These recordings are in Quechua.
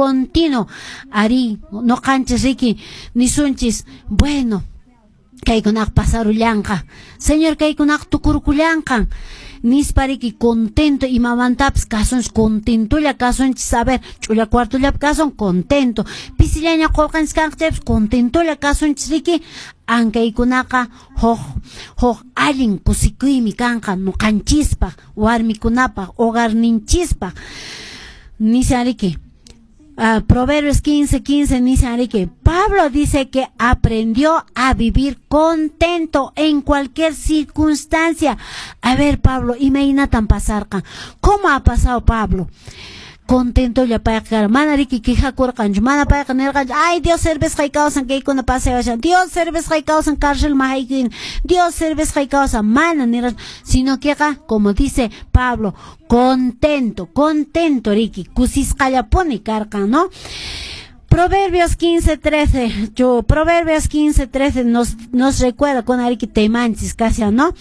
continuo. Arí, noqanchis riki nisunchis, bueno, kaykunaqa pasarullanqa, Señor kaykunaqa tukurkullanqan, nispa riki contento imamantapas kasunchis, contentolla kasunchis, a ver, ch'ulla cuartollapi kasun, contento, pisillaña qullqanchis kanqa chaypas contentolla kasunchis riki, ankaykunaqa huk allin kusikuymi kanqa noqanchispaq, warmikunapaq, hogarninchispaq, nishan riki. Proverbios 15:15 nishan riki. Pablo dice que aprendió a vivir contento en cualquier circunstancia. A ver, Pablo, imaynatan pasarqa? ¿Cómo ha pasado Pablo? Contentolla payqa karqa, mana riki quejakurqanchu, mana payqa nirqanchu, ay Dios servisqay kawsan kaykuna pasayashan, Dios servisqay kawsan cárcelman haykuyni, Dios servisqay kawsan, mana nirqanchu, sino queqa, como dice Pablo, contento, contento riki, kusisqallapuni karqan, ¿no? Proverbios 15:13, yo, Proverbios 15:13 nos recuerda con ariki temanchis casi, ¿no?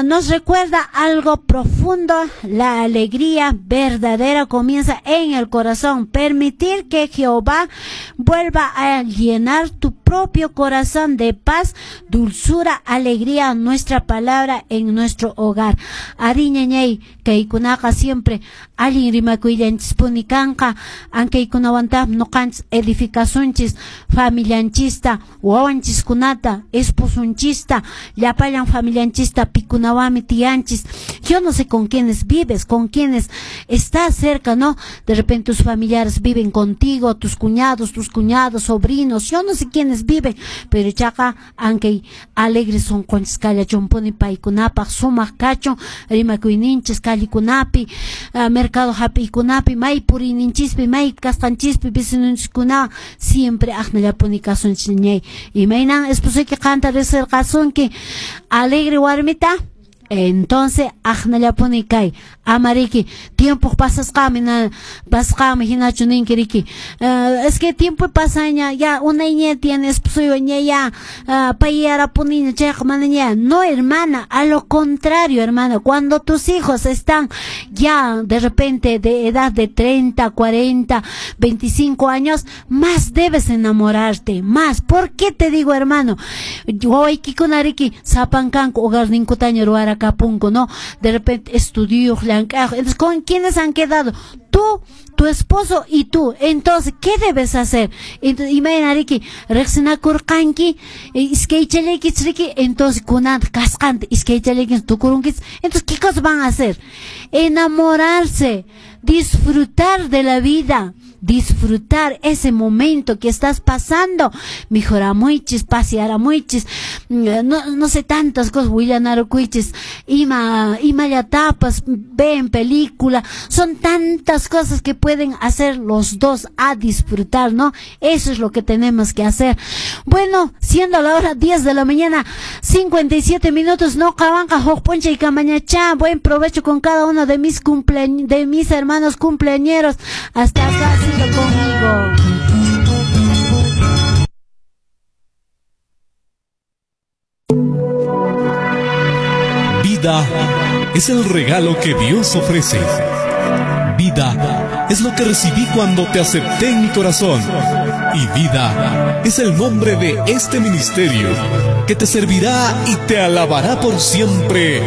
Nos recuerda algo profundo, la alegría verdadera comienza en el corazón. Permitir que Jehová vuelva a llenar tu propio corazón de paz, dulzura, alegría, nuestra palabra en nuestro hogar. Ariñañay, kaykunaqa siempre allin rimakuyllanchisipuni kanqa, ankaykunawantaq noqanchis edificasunchis familianchista, wawanchiskunata, esposunchista, llapallan familianchista, pikunawanmi tiyanchis. Yo no sé con quiénes vives, con quiénes estás cerca, ¿no? De repente tus familiares viven contigo, tus cuñados, sobrinos, yo no sé quiénes viven, pero chaqa ankay alegres son kallachunpuni paykunapaq, sumaq kachun rimakuyninchis kallikunapi, mercado hap'iykunapi, may puriyninchispi, may kasqanchispi, vecinonchiskunawan siempre aqnallapuni kasunchis ñay. Imaynan esposuyki qanta riqsirqasunki alegre warmita, entonces aqnallapuni kay, amariki tiempo pasasqami, pasqami hinachu ninki riki, es que tiempo pasaña, ya unayña tiene esposuywan ña ya payarapuniña chayqa manaña. No, hermana, a lo contrario, hermana, cuando tus hijos están ya de repente de edad de 30, 40, 25 años, más debes enamorarte, más. ¿Por qué te digo, hermano? Wawaykikuna riki sapankanku hogarninkutaña ruwarakapunku, ¿no? De repente estudio, llank'aq. Entonces, ¿con quiénes han quedado? Tú, tu esposo y tú. Entonces, ¿qué debes hacer? Entonces, imayna riki riqsinakurqanki, iskaychallaykichis riki, entonces kunanta kasqanta iskaychallaykichis tukurunkichis. Entonces, ¿qué cosas van a hacer? Enamorarse, disfrutar de la vida, disfrutar ese momento que estás pasando, mejoramuichis, pasearamuichis, no sé tantas cosas, willanarukuichis, imallatapas, ven película, son tantas cosas que pueden hacer los dos a disfrutar, ¿no? Eso es lo que tenemos que hacer. Bueno, siendo la hora 10 de la mañana, 57 minutos, no kawanqa huk p'unchay kamañachá. Buen provecho con cada uno de mis de mis hermanos cumpleañeros. Hasta acá ha sido conmigo. Vida es el regalo que Dios ofrece. Vida es lo que recibí cuando te acepté en mi corazón. Y vida es el nombre de este ministerio que te servirá y te alabará por siempre.